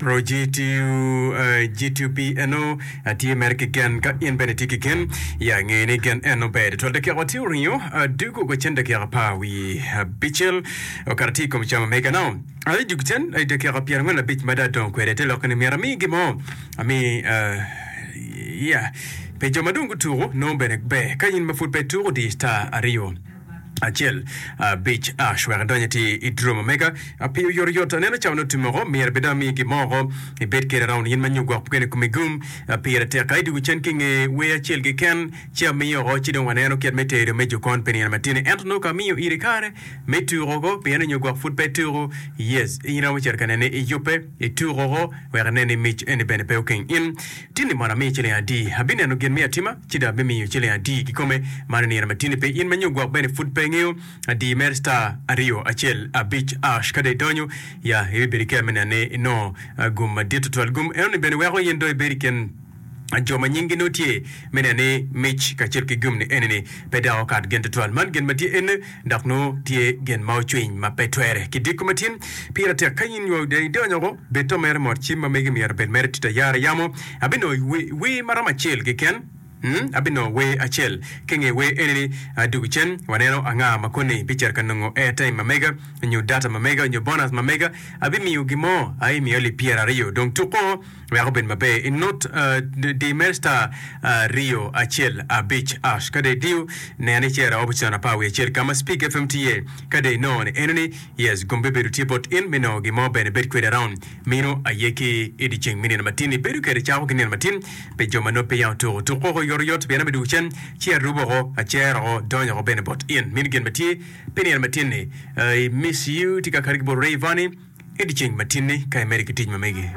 Ro GTU, G2P eno atye mere ki gen ka in bene itye ki gen ya nge ni gen eno ber tutwal. Dakika watye oringo dugo gwa cen dakika apar wi abicel okato tye i kom cam omega now aye dug cen i dakika 45 ma dong adongo kwede te lokke ni myero ami gin mo ami ya pi jo ma dong gutuko nongo bene ber ka in ma pud pe ituko di star aryo acel abic ash wek idony ati i drum omega pi oyotoyot aneno cawa nongo otum oko myero bed dong ami gin mo oko ibed kede around in ma nyo gwok kene komi gum pire tek ka idwogo cen ki nge wer acel keken ci amiyo oko ci dong waneno kit me tedo me jokon pi nino matini ento nongo ka amiyo iri kare me tuko oko pien nyo gwok pud pe ituko yes in iromo cito ka nene iyubbe ituko oko wek inen ni mic eni bene pe okeng in Tinni mono amiyi ciling adi? Abineno gin me atima, ci dong abimiyo ciling adi kikome? Man i nino ma tinni pe in ma nyo gwok bene pud pe ingeyo adi mere star aryo acel abic ash ka dong idonyo ya ibibedo ki kero me neno ni inongo gum madit tutwal. Gum enoni bene weko in dong ibedo i kin jo ma nyinggi nongo tye me neno ni mic kacel ki gum ni enini pe dok okat gin tutwal. Man gin ma tye ene. Dok nongo tye gin ma ocwiny ma pe twere ki diko ma tin. Pire tek ka in nyo idonyo oko, bed to mere mot. Cim ma megi myero obed mere tito ayara yamo. Abinongo wer ma romo acel keken. Abinongo wer acel. Ki nge wer eni-ni, adugu cen, waneno anga ma koni bicito ka nongo airtime ma mega, nyo data ma mega, nyo bonus ma mega. Abimiyo gin mo, aye miyo alip pyeraryo. Dong tuko. Wek obed maber, inut di mere star aryo acel abic ash. Ka dong idiyo, nen icito option apar wiye acel ka ma Speak FM tye iye. Ka dong inongo ni eno ni yes, gum bibedo tye bot in me nongo gin mo bene ibed kwede around. Mino aye ki i dyeceng me nino matin. Ibedo kwede cako ki nino matin pi jo ma nongo peya otuko. Tuk oko oyotoyot pien abidwogo cen ci arubo oko, acero oko, donyo oko bene bot in. Mino gin ma tye pi nino matin ni. I miss you tye ka kati ki bot Rayvanny. I dyeceng matinni ka imedo ki tic ma megi.